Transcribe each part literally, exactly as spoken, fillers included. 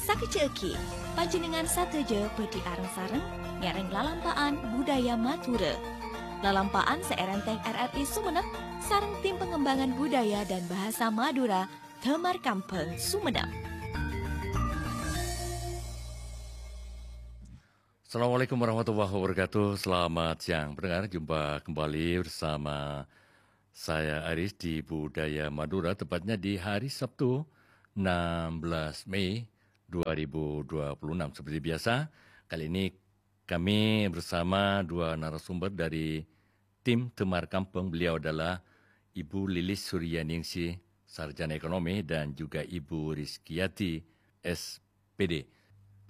Sakejjhâ'aghi, panjhennengngan sadhâjâ bhâdhi areng-sareng ngèrèng lalampa'an budaya Madhurâ. Lalampa'an sè èrèntèng R R I Sumenep sareng Tim Pengembangan Budaya dan Bahasa Madura, Damar Kambhâng, Sumenep. Assalamualaikum warahmatullahi wabarakatuh. Selamat siang, pendengar. Jumpa kembali bersama saya, Aris, di Budaya Madura, tepatnya di hari Sabtu, enam belas Mei dua ribu dua puluh enam. Seperti biasa, kali ini kami bersama dua narasumber dari tim Damar Kambhâng. Beliau adalah Ibu Lilis Suryaningsih, sarjana ekonomi, dan juga Ibu Rizkiyati, S P D,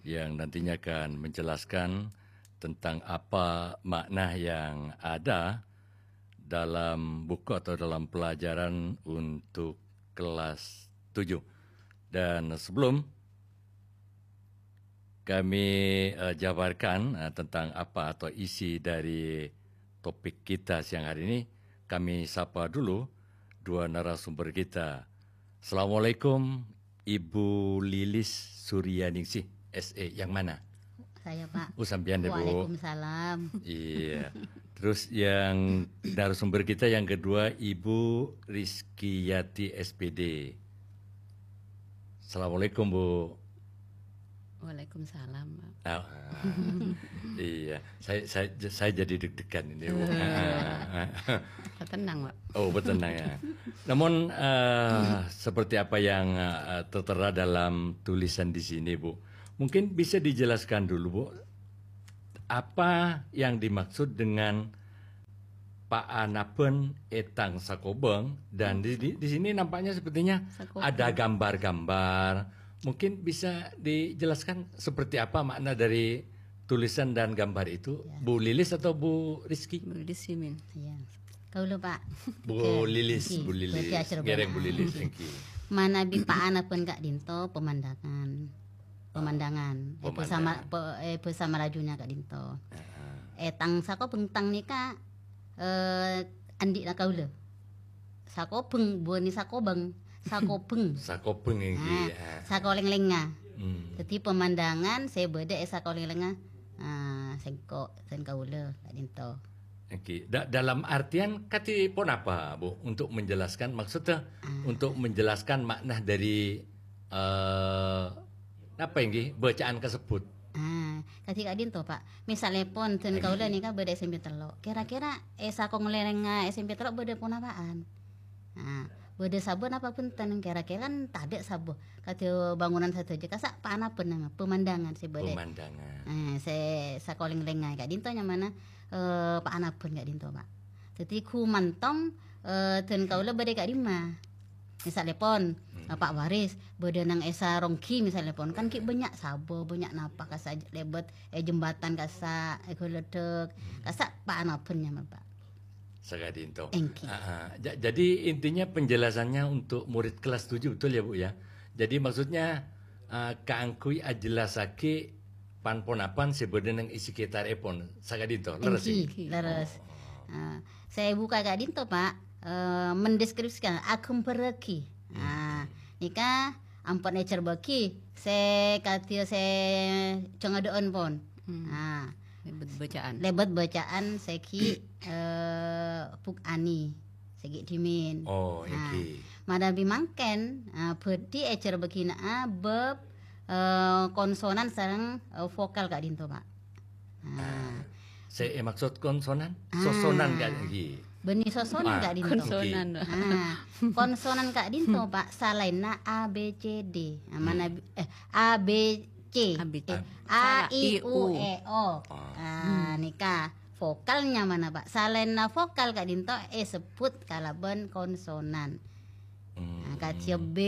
yang nantinya akan menjelaskan tentang apa makna yang ada dalam buku atau dalam pelajaran untuk kelas tujuh. Dan sebelum kami, eh, jabarkan, eh, tentang apa atau isi dari topik kita siang hari ini, kami sapa dulu dua narasumber kita. Assalamualaikum, Ibu Lilis Suryaningsih, S E. Yang mana? Saya, Pak. Oh, sampean deh, Bu. Waalaikumsalam. Iya. Terus yang narasumber kita yang kedua, Ibu Rizkiyati, S P D. Assalamualaikum, Bu. Waalaikumsalam, Pak. Ah, iya, saya, saya, saya jadi deg-degan ini, Bu. Tenang, Pak. Oh, betul, ya. Namun, eh, seperti apa yang, eh, tertera dalam tulisan di sini, Bu, mungkin bisa dijelaskan dulu, Bu, apa yang dimaksud dengan paanabhân è tang sakobhâng, dan di, di, di sini nampaknya sepertinya Sakobhâng. Ada gambar-gambar. Mungkin bisa dijelaskan seperti apa makna dari tulisan dan gambar itu, Ya. Bu Lilis atau Bu Rizky? Bu Rizky, Min. Iya. Kaulâ, Pak. Bu Oke. Lilis, Nggih. Bu Lilis. Berarti acara Ngereng Bu Lilis, nggih. Manabi paanabhân ka'dinto pemandangan. Pemandangan. Eh, bhâsa Ma-, Pemandangan. pe-, eh, bhâsa Malajunya ka'dinto. Heeh. Eh, tang sakobhâng tang nèka, eh, andi'na kaulâ. Sakobhâng, buwâna sakobhâng. Sakobhâng. Sakobhâng ngghi, Ah, ya. Sakolènglèngnga. Hmm. Dhâddhi pemandangan sè bâdâ è sakolènglèngnga, ah, sèngko', sèn kaulâ ka'dinto. Ngghi. Da-, dalam artian kadhi ponapa, Bu, untuk menjelaskan, maksudnya Ah. untuk menjelaskan makna dari, eh, apa ngghi, bacaan kasebut? Ah, kadhi ka'dinto, Pak. Misalèpon, dân Ngghi. kaulâ nèka bâdâ S M P tello'. Kira-kira è sakolènglèngnga S M P tello' bâdâ ponapa'an? Ah, bâdâ sabâ napa bhunten? Kira-kira kan tadâ' sabâ. Kadhi bangunan sadhâjâ kassa' paanabhân, pemandangan sè bâdâ. Pemandangan. Eh, sè sakolènglèngnga ka'dinto nyamana, eh, paanabhân ka'dinto, Pak. Dhâddhi ghumantong, eh, dân kaulâ bâdâ ka'dimma. Misalèpon, Hmm. Pak Waris, bâdâ nang è Saronggi misalèpon, kan ghi' bânnya' sabâ, bânnya' napa kassa' lèbât, eh, jembatan kassa', eh, ghâlâdhâk, Hmm. kassa' paanabhân nyamana, Pak. Saka'dinto. Èngghi. Ah, ah. Ja-, jadi intinya penjelasannya untuk murid kelas tujuh, betul ya, Bu, ya? Jadi maksudnya, eh, kaangghuy ajellassaghi pan-ponapan sè bâdâ neng è sekitarèpon. Saka'dinto, leres, Èngghi, èngghi? Leres. Oh. Ah, sè èbuka ka'dinto, Pak, eh, mendeskripsikan, aghâmbhârraghi. Hmm. Ah, nèka ampon ècèrbâghi, sè kadhi sè jhângadâ'ân pon. Hmm. Ah. Lèbât bacaan. Lèbât bacaan sè ghi', eh, bukani, sè ghi' dhimèn. Oh, Ah, èngghi. Manabi mangkèn, ah, bhâdhi ècèrbâghina'a bab, eh, konsonan sareng, eh, vokal ka'dinto, Pak. Ah. Ah. Sè èmaksud konsonan? Ah. Sosonan ka'dinto. Bânnè sosonan Ah, ka'dinto. Konsonan. Ah, konsonan ka'dinto, Pak, salaènna A, B, C, D. Ah, Hmm. manabi, eh, A, B, C. A, B, C. Eh, A, I, U, E, O. Ah. Ah, nèka vokal nyamana, Pak. Salaènna vokal ka'dinto èsebbhut kalabân konsonan. Hmm. Ah, kadhi B,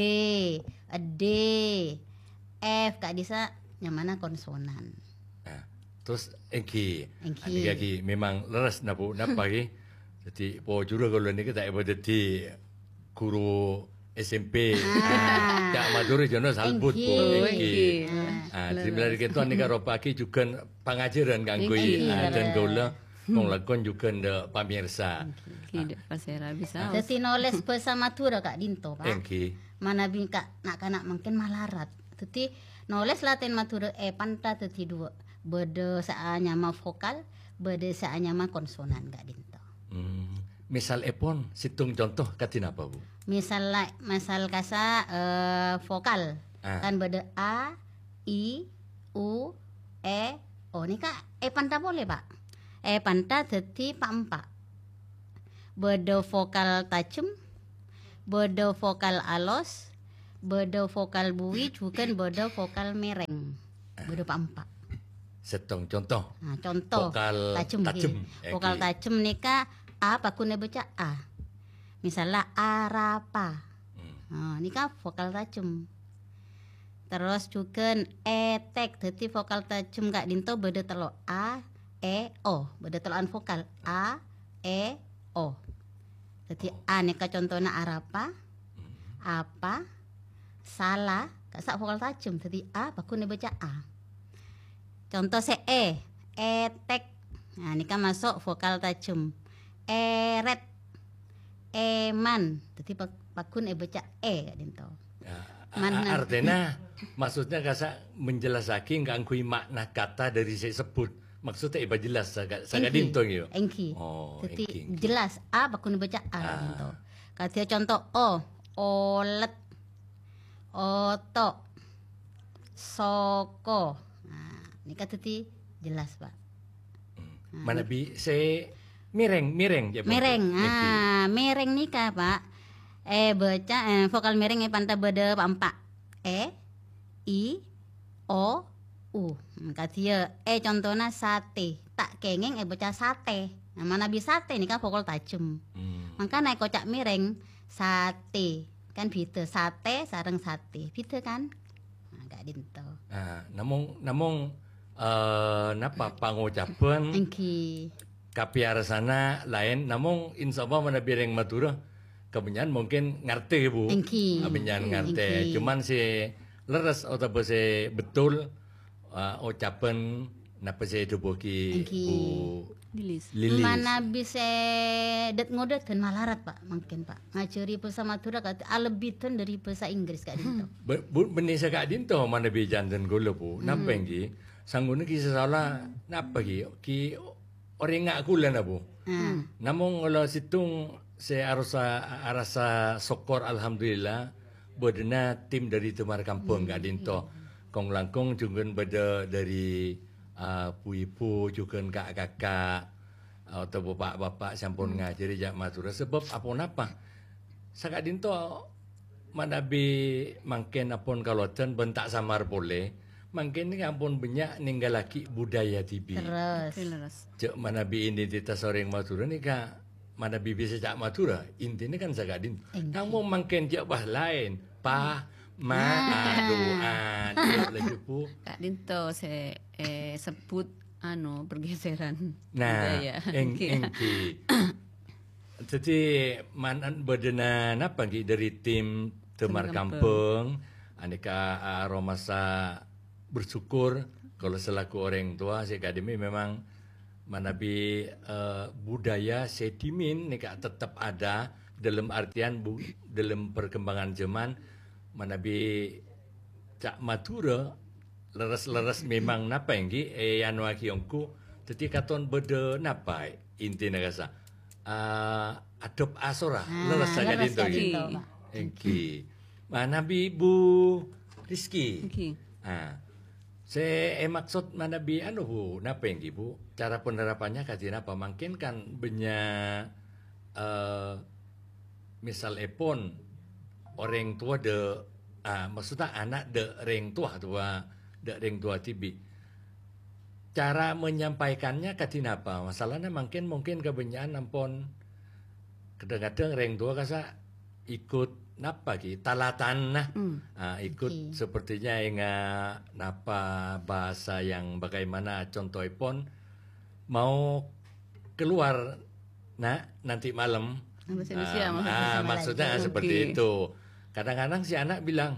D, F ka'dissa' nyamana konsonan. Nah, terus èngghi. Èngghi. Nèka ghi memang leres napa, napa ghi. Dhâddhi pojhurâ kaulâ nèka ta' èpadhâddhi ghuru S M P. Ah. Ca'na Madhurâ jhâna salbut, Èngghi. Bu. Èngghi. Èngghi. Ah. Ah, dhâddhi Leres. Malè kènto nèka ropa'aghi jhughân pangajhârân kaangghuy, Èngghi, ah, dân leres. Kaulâ. Kong-langkong jhughân dâ' pamirsa. Èngghi, dâ' pasèra bisa. Dhâddhi nolès bhâsa Madhurâ ka'dinto, Pak. Èngghi. Manabi ka-, na'-kana' mangkèn malarat. Dhâddhi nolès latèn Madhurâ èpanta dhâddhi duwâ'. Bâdâ sè anyama vokal, bâdâ sè anyama konsonan ka'dinto. Hmm. Misalèpon, sèttong conto kadhi napa, Bu? Misal la-, misal kasa, eh, vokal. Ah. Kan bâdâ a, i, u, e, o. Nèka èpanta polè, Pak. Èpanta dhâddhi pa'-empa'. Bâdâ vokal tajem, bâdâ vokal alos, bâdâ vokal buwi, jhughân bâdâ vokal mèrèng. Bâdâ pa'-empa'. Sèttong conto. Nah, conto. Vokal tajem, tajem, ngghi. Vokal èngghi. Tajem nèka a pagghun èbâca a. Misalla arapa. Hmm. Nah, nèka vokal tajem. Terros jhughân ètèk. Dhâddhi vokal tajem ka'dinto bâdâ tello', a, e, o. Bâdâ tello'an vokal. A, e, o. Dhâddhi a nèka contona arapa, apa, sala, ka'issa' vokal tajem. Dhâddhi a pagghun èbâca a. Conto sè e, ètèk. Nah, nèka maso' vokal tajem. Èrèt, èman. Dhâddhi pa-, pagghun èbâca e ka'dinto. Ya, a-, Man-, a-, artèna, maksudnya kasa' menjelasaghi kaangghuy makna kata dari sè èsebbhut. Maksudnya èpajelas saka-, èngghi, saka'dinto, ya? Èngghi. Oh, dhâddhi èngghi, èngghi. Jelas, a pagghun èbâca a, ah, ka'dinto. Kadhi conto o, olèt, oto', soko. Nah, nèka dhâddhi jelas, Pak. Hmm. Nah, manabi sè mèrèng, mèrèng, ya, Bu? Mèrèng. Èngghi. Ah, mèrèng nèka, Pak. Èbâca, eh, vokal mèrèng èpanta bâdâ pa'-empa'. E, i, o, u. Hmm, kadhiyâ, e contona satè. Ta' kèngèng èbâca satè. Nah, manabi satè nèka vokal tajem. Hmm. Mangkana èkoca' mèrèng, satè. Kan bhidhâ satè sareng satè. Bhidhâ, kan? Nah, ka'dinto. Ah, namong, namong, eh, napa pangocabhân èngghi. Kapèyarsana laèn, namong insyaallah manabi rèng Madhurâ kabânnya'an mungkin ngartè, Bu. Èngghi. Kabânnya'an ngartè. Èngghi. Cuman sè lerres otabâ sè betul, eh, ocabhân napa sè èdhâbuwaghi, èngghi, Bu Lilis. Lilis. Manabi sè dât-ngodâdhân malarat, Pak, mangkèn, Pak. Ngajhâri bhâsa Madhurâ kadhi alebbidhân dâri bhâsa Inggris ka'dinto. Be-, Bu, bânnè saka'dinto manabi jhândhân kaulâ, Bu. Hmm. Napa èngghi? Sangghu'na ghi' sè sala napa ghi? Ghi orèngnga kaulâ na, Bu. Hmm. Namong kaulâ sèttong sè arosa, arassa sokkor, alhamdulillah, bâdâna tim dâri Dâmar Kampung, hmm, ka'dinto. Kong-langkong jhughân bâdâ dâri, ah, bu-ibu, jhughân ka'-kaka', otabâ pa'-bapa' sè ampon, hmm, ngajhâri ca' Madhurâ. Sabâb aponapa? Saka'dinto manabi mangkèn ampon kalowajhân bân ta' samar polè, mangkèn nèka ampon bânnya' nènggallaghi budaya dhibi'. Terros. Oke, leres. Jhâ' manabi identitas orèng Madhurâ nèka, manabi bisa ca' Madhurâ, intina kan saka'dinto. Èngghi. Namong mangkèn jhâ' pas laèn. Pa, ma, nah, adu, adu, laju, Bu. Ka'dinto sè, eh, sebbhut, anu, pergeseran, nah, budaya. Èng-, èngghi. Dhâddhi, man-, bâdâna napa, èngghi, dâri tim Dâmar Kampung. Kampung. Anèka, ah, aromasa bersyukur kaulâ selaku orèng towa sè ka'dimma memang manabi, eh, budaya sè dhimèn nèka tetep ada dalam artian bu-, dalam perkembangan zaman manabi ca' Madhurâ lerres-lerres memang napa èngghi, eh, èanoaghi ongghu. Dhâddhi katon bâdâ napa intina kasa', eh, adop asora, ah, lerres lerres saka'dinto, èngghi. Ka'dinto, Pak. Èngghi. Manabi Bu Rizky. Èngghi. Ah. Sè èmaksod manabi anu, Bu, napa èngghi, Bu? Cara penerapannya kadhi napa? Mangkèn kan bânnya', eh, misalèpon orèng towa dâ', ah, maksudnya ana' dâ' rèng towa, towa, dâ' rèng towa dhibi'. Cara menyampaikannya kadhi napa? Masalahnya mangkèn mungkin kabânnya'an ampon kadhâng-kadhâng rèng towa kasa' ikut napa ghi? Talatan, nah. Hmm. Ah, ikut, oke, sepertinya enga' napa bahasa yang bagaimana contohèpon mau keluar, Nak, nanti malam. Bahasa Indonesia, ah, maksudnya, ah, maksudnya seperti itu. Oke. Kadang-kadang si anak bilang,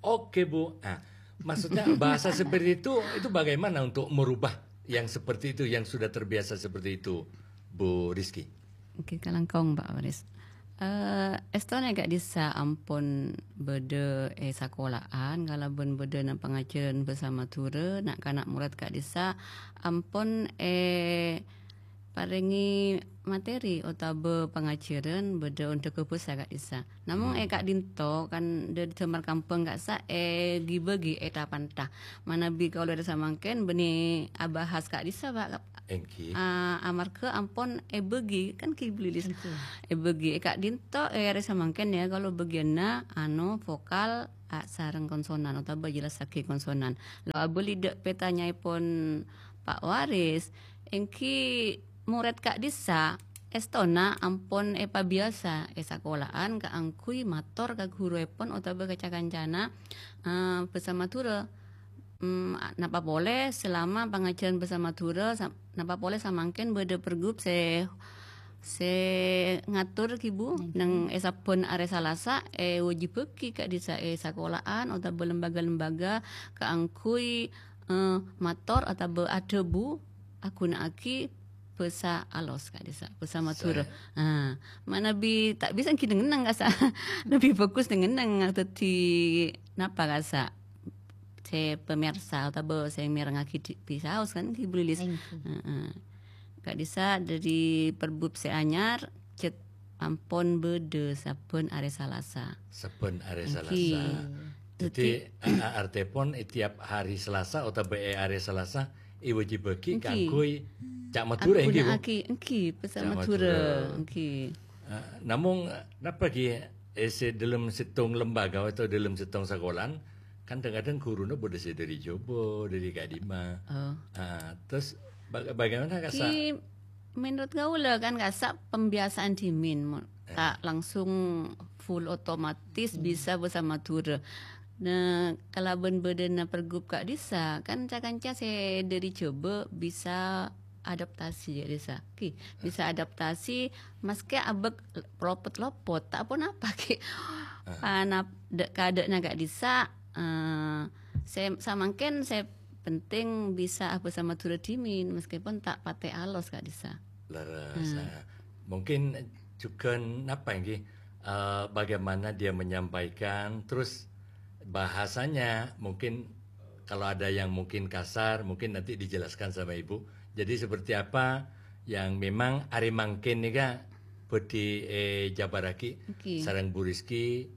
"Oke, Bu." Ah, maksudnya bahasa seperti itu, itu bagaimana untuk merubah yang seperti itu, yang sudah terbiasa seperti itu, Bu Rizky? Oke, kalangkong, Pak Waris. Eh, èstona ka'dissa' ampon bâdâ è sakola'an kalabân bâdâna pangajhârân bhâsa Madhurâ, na'-kana' morèd ka'dissa' ampon èparèngè materi otabâ pangajhârân bâdâ onḍhâghâ bhâsa ka'dissa'. Namong è ka'ḍinto kan ḍâri ḍâmar kambhâng ka'issa' èghi-bâghi è tha-pantha. Manabi kaulâ ḍâri samangkèn bânnè abahas ka'dissa', Pak. Èngghi. Ah, amarghâ ampon èbâghi, kan ghi' belilis. Èngghi. Èbâghi è ka'ḍinto, è arè samangkèn, ya, kalau bâgiyânna, anu, vokal, a, sareng konsonan, otabâ jellassaghi konsonan. Lo abâli ḍâ' pètanyaèpon Pak Waris, èngghi morèd ka'dissa', èstona ampon èpabiyasa è sakola'an kaangghuy mator ka ghuruèpon otabâ ka ca-kancana, eh, bhâsa Madhurâ. Mm, a-, napa polè selama pangajhârân bhâsa Madhurâ, sa-, napa polè samangkèn bâdâ pergub sè, sè ngator, ghi, Bu, neng è sabbhân arè Salasa, èwâjibhâghi ka'dissa' è sakola'an otabâ lembaga-lembaga kaangghuy, eh, mator otabâ aḍhâbu aghuna'aghi bhâsa alos ka'dissa', bhâsa Madhurâ. Ah, manabi ta' bisa èngghi neng-enneng ka'issa'. Lebih bagus neng-enneng dhâddhi napa ka'issa'? Sè pamèrsa otabâ sè mèrengngaghi ḍi-, bisaos kan ghi' belilis. Èngghi. Heeh. Ka'dissa' ḍâri pergub sè anyar, cè' ampon bâdâ sabbhân arè Salasa. Sabbhân arè Èngghi. Salasa. Dhâddhi, dhâddhi, a-, a-, artèpon è tiap hari Salasa otabâ è arè Salasa èwâjibhâghi Èngghi. Kaangghuy ca' Madhurâ, èngghi, Bu? Aghuna'aghi, èngghi, bhâsa Ca' Madhurâ, Madhurâ. Èngghi. Ah, namong, napa ghi, eh, sè ḍâlem sèttong lembaga atau ḍâlem sèttong sakola'an, kan kadhâng-kadhâng ghuruna bâḍâ sè ḍâri Jhâbâ, ḍâri ka'ḍimma. Oh. Ah, terus baga-, bagaimana ka'issa'? Ki, menurut kaulâ kan ka'issa' pembiasaan ḍimèn, mo-, Eh. ta' langsung full otomatis Hmm. bisa bhâsa Madhurâ. Nah, kalabân bâḍâna pergub ka'dissa', kan ca-kanca sè ḍâri Jhâbâ bisa adaptasi ka'dissa'. Ki, bisa adaptasi, maskè abâk lopot-lopot, ta' ponapa, ki. Ah. Panap-, ḍâ'-kaḍâ'na ka'dissa', eh, sè, samangkèn sè penting bisa abhâsa Madhurâ ḍimèn, meskipun ta' patè alos ka'dissa'. Lerres, Hmm. ah. Mungkin jhughân napa èngghi, eh, bagaimana dia menyampaikan, terus bahasanya mungkin kalau ada yang mungkin kasar, mungkin nanti dijelaskan sama Ibu. Jadi seperti apa yang memang arè mangkèn nèka bhâḍhi èjhâbârraghi Èngghi. Sareng Bu Rizky,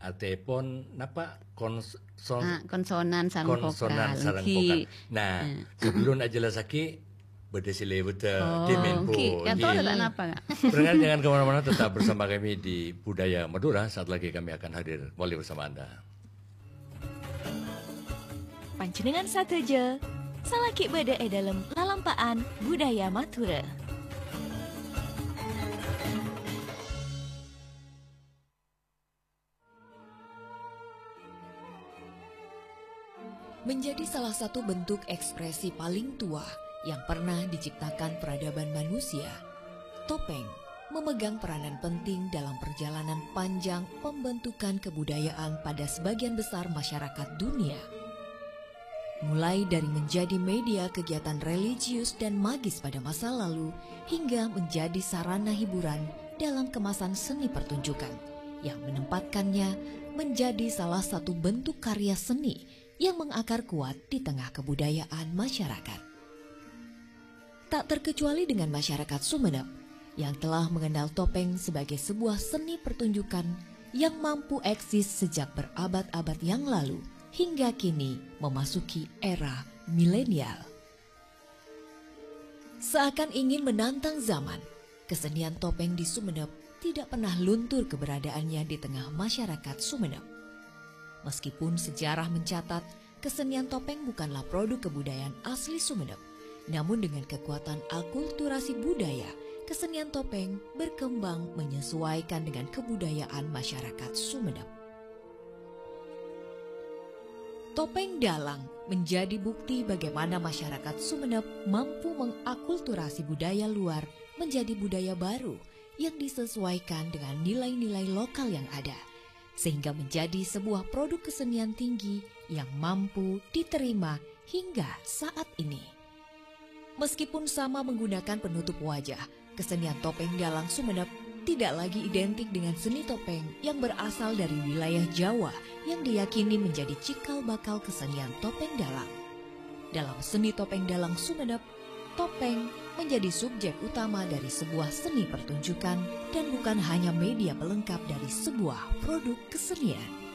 artèpon napa? Kons-, son-, Ah, konsonan sareng konsonan vokal. Sareng Èngghi. Vokal. Nah, Eh. sebelum ajellassaghi, bâḍâ sè lèbât, eh, Oh, ḍimèn, Bu. Èngghi. Èngghi. Napa, Kak? Pendengar, jangan kemana-mana, tetap bersama kami di Budaya Madura. Saat lagi kami akan hadir kembali bersama Anda. Panjhennengngan sadhâjâ, salaghi bâḍâ è ḍâlem lalampa'an Budaya Madhurâ. Menjadi salah satu bentuk ekspresi paling tua yang pernah diciptakan peradaban manusia, topeng memegang peranan penting dalam perjalanan panjang pembentukan kebudayaan pada sebagian besar masyarakat dunia. Mulai dari menjadi media kegiatan religius dan magis pada masa lalu, hingga menjadi sarana hiburan dalam kemasan seni pertunjukan, yang menempatkannya menjadi salah satu bentuk karya seni yang mengakar kuat di tengah kebudayaan masyarakat. Tak terkecuali dengan masyarakat Sumenep yang telah mengenal topeng sebagai sebuah seni pertunjukan yang mampu eksis sejak berabad-abad yang lalu hingga kini memasuki era milenial. Seakan ingin menantang zaman, kesenian topeng di Sumenep tidak pernah luntur keberadaannya di tengah masyarakat Sumenep. Meskipun sejarah mencatat kesenian topeng bukanlah produk kebudayaan asli Sumenep, namun dengan kekuatan akulturasi budaya, kesenian topeng berkembang menyesuaikan dengan kebudayaan masyarakat Sumenep. Topeng Dalang menjadi bukti bagaimana masyarakat Sumenep mampu mengakulturasi budaya luar menjadi budaya baru yang disesuaikan dengan nilai-nilai lokal yang ada, sehingga menjadi sebuah produk kesenian tinggi yang mampu diterima hingga saat ini. Meskipun sama menggunakan penutup wajah, kesenian topeng dalang Sumenep tidak lagi identik dengan seni topeng yang berasal dari wilayah Jawa yang diyakini menjadi cikal bakal kesenian topeng dalang. Dalam seni topeng dalang Sumenep, topeng menjadi subjek utama dari sebuah seni pertunjukan dan bukan hanya media pelengkap dari sebuah produk kesenian.